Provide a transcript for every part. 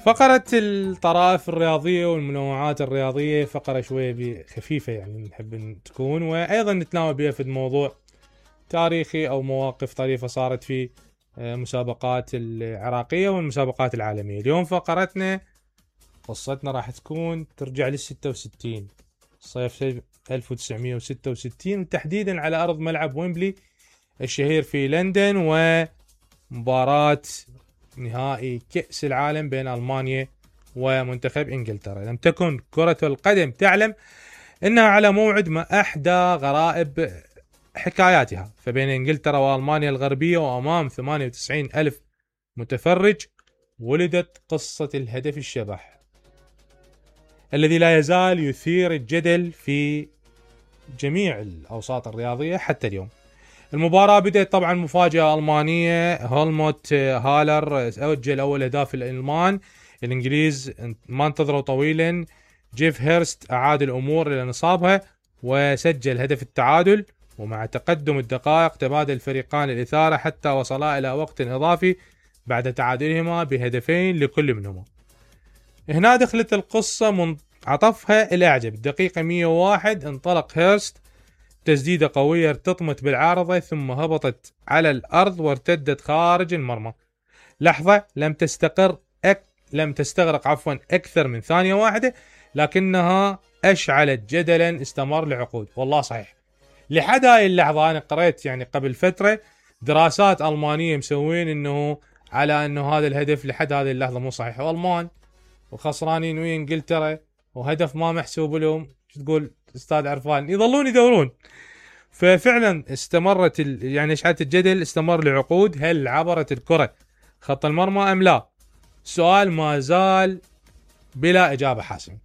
فقرة الطرائف الرياضية والمنوعات الرياضية فقرة شوية خفيفة يعني نحب تكون، وأيضا نتناول بها في موضوع تاريخي أو مواقف طريفة صارت في مسابقات العراقية والمسابقات العالمية. اليوم فقرتنا قصتنا راح تكون ترجع لل66 صيف 1966 وتحديدا على أرض ملعب ويمبلي الشهير في لندن، ومباراة نهائي كأس العالم بين ألمانيا ومنتخب إنجلترا. لم تكن كرة القدم تعلم أنها على موعد مع أحدى غرائب حكاياتها، فبين إنجلترا وألمانيا الغربية وأمام 98 ألف متفرج ولدت قصة الهدف الشبح الذي لا يزال يثير الجدل في جميع الأوساط الرياضية حتى اليوم. المباراة بدأت طبعا مفاجأة ألمانية، هولموت هالر سجل أول أهداف الألمان، الإنجليز ما انتظروا طويلا، جيف هيرست أعاد الأمور إلى نصابها وسجل هدف التعادل، ومع تقدم الدقائق تبادل الفريقان الإثارة حتى وصلا إلى وقت إضافي بعد تعادلهما بهدفين لكل منهما. هنا دخلت القصة منعطفها الأعجب. الدقيقة 101 انطلق هيرست تسديدة قوية ارتطمت بالعارضة ثم هبطت على الأرض وارتدت خارج المرمى. لحظة لم تستغرق أكثر من ثانية واحدة، لكنها أشعلت جدلا استمر لعقود. والله صحيح لحد هاي اللحظة أنا قرأت يعني قبل فترة دراسات ألمانية مسوين إنه على إنه هذا الهدف لحد هذه اللحظة مو صحيح، والمان وخسرانين ويا إنجلترا وهدف ما محسوب لهم. شو تقول أستاذ عرفان؟ يظلون يدورون. ففعلا استمرت يعني اشعة الجدل استمر لعقود. هل عبرت الكرة خط المرمى أم لا؟ السؤال ما زال بلا إجابة حاسمة.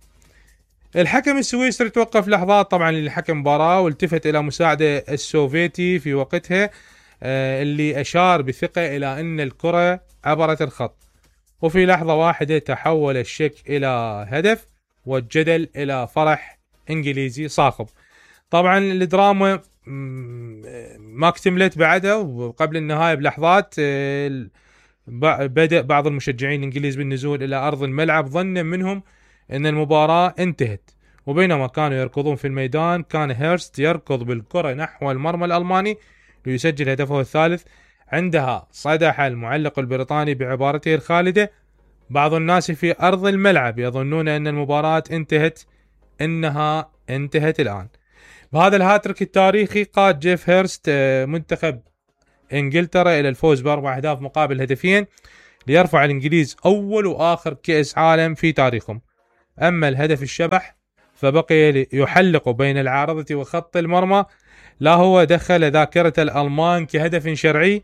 الحكم السويسري توقف لحظات طبعا لحكم مباراة والتفت إلى مساعده السوفيتي في وقتها اللي أشار بثقة إلى أن الكرة عبرت الخط، وفي لحظة واحدة تحول الشك إلى هدف والجدل إلى فرح إنجليزي صاخب. طبعا الدراما ما اكتملت بعدها، وقبل النهاية بلحظات بدأ بعض المشجعين الإنجليز بالنزول إلى أرض الملعب ظنا منهم أن المباراة انتهت، وبينما كانوا يركضون في الميدان كان هيرست يركض بالكرة نحو المرمى الألماني ليسجل هدفه الثالث. عندها صدح المعلق البريطاني بعبارته الخالدة: بعض الناس في أرض الملعب يظنون أن المباراة انتهت، إنها انتهت الآن. بهذا الهاتريك التاريخي قاد جيف هيرست منتخب إنجلترا إلى الفوز بأربع أهداف مقابل هدفين ليرفع الإنجليز أول وآخر كأس عالم في تاريخهم. أما الهدف الشبح فبقي يحلق بين العارضة وخط المرمى، لا هو دخل ذاكرة الألمان كهدف شرعي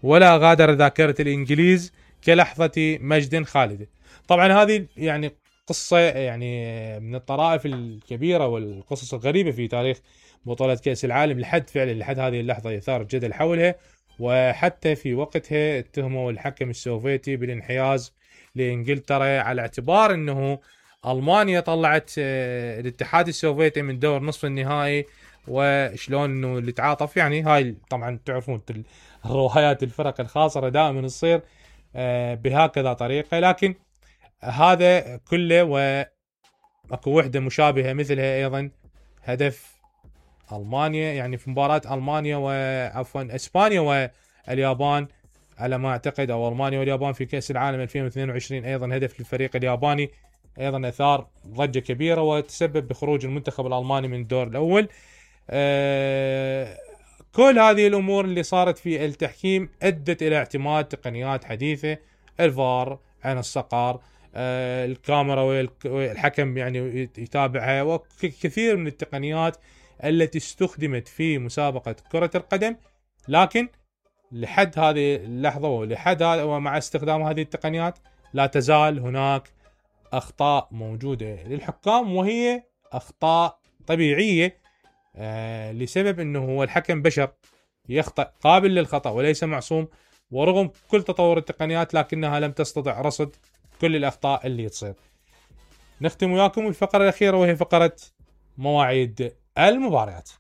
ولا غادر ذاكرة الإنجليز كلحظة مجد خالدة. طبعا هذه يعني قصة يعني من الطرائف الكبيرة والقصص الغريبة في تاريخ بطولة كأس العالم لحد هذه اللحظة يثار الجدل حولها، وحتى في وقتها اتهموا الحكم السوفيتي بالانحياز لإنجلترا على اعتبار أنه ألمانيا طلعت الاتحاد السوفيتي من دور نصف النهائي، وشلون أنه اللي تعاطف يعني هاي طبعا تعرفون الروايات الفرق الخاصرة دائما تصير بهكذا طريقة. لكن هذا كله واكو وحدة مشابهة مثلها ايضا هدف ألمانيا يعني في مباراة ألمانيا اسبانيا واليابان على ما اعتقد، او ألمانيا واليابان في كأس العالم 2022 ايضا هدف للفريق الياباني ايضا اثار ضجة كبيرة وتسبب بخروج المنتخب الألماني من الدور الاول. كل هذه الامور اللي صارت في التحكيم ادت الى اعتماد تقنيات حديثة، الفار، عين الصقر، الكاميرا والحكم يعني يتابعها، وكثير من التقنيات التي استخدمت في مسابقة كرة القدم. لكن لحد هذه اللحظة ومع استخدام هذه التقنيات لا تزال هناك أخطاء موجودة للحكام، وهي أخطاء طبيعية لسبب أنه هو الحكم بشر يخطئ، قابل للخطأ وليس معصوم. ورغم كل تطور التقنيات لكنها لم تستطع رصد كل الأخطاء اللي تصير. نختم وياكم الفقرة الأخيرة وهي فقرة مواعيد المباريات.